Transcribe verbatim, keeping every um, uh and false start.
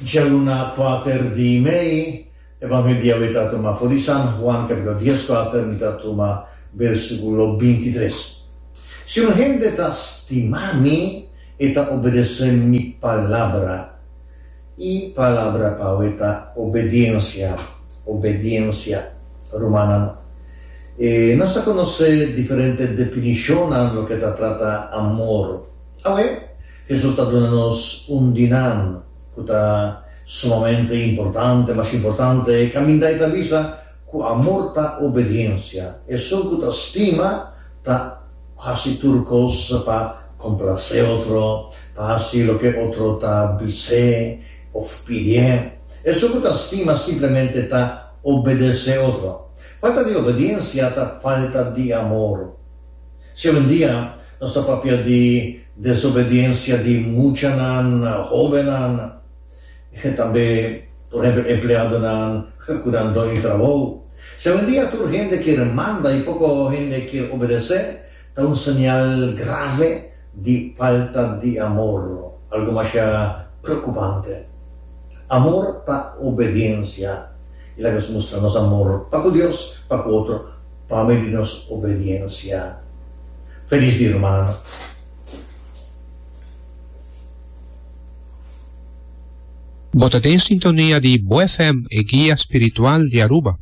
Djaluna kuater di mei, Evangelio di awe ta tuma for di San Juan capítulo dies kuater, mi ta tuma versículo bintitres. Si un hende ta stima mi, e ta obedesé mi palabra. E palabra pa awe ta obediencia, obediencia, rumannan. E nos ta konosé diferente definishonnan loke ta trata amor. Awe, Hesus ta duna nos un di nan ku ta sumamente importante, mas importante, kaminda e ta bisa ku amor ta obediensia. Esun ku ta stima ta hasi tur kos pa komplasé otro, pa hasi loke otro ta bis'é òf pidié. Esun ku ta stima simplemente ta obedesé otro. Falta di obediensia ta falta di amor. Si awendia nos ta papia di desobediensia di muchanan, hóbennan, tambe por ehèmpel empleadonan ku nan doño di trabou. Si awendia tur hende kier manda i poko hende kier obedesé, ta un señal grave di falta di amor, algu masha preokupante. Amor ta obediensia, i laga nos mustra nos amor pa ku Dios, pa ku otro, pa medio di nos obediensia. Felis dia, rumannan. Bo ta den sintonia di Bo F M, e guia spiritual di Aruba.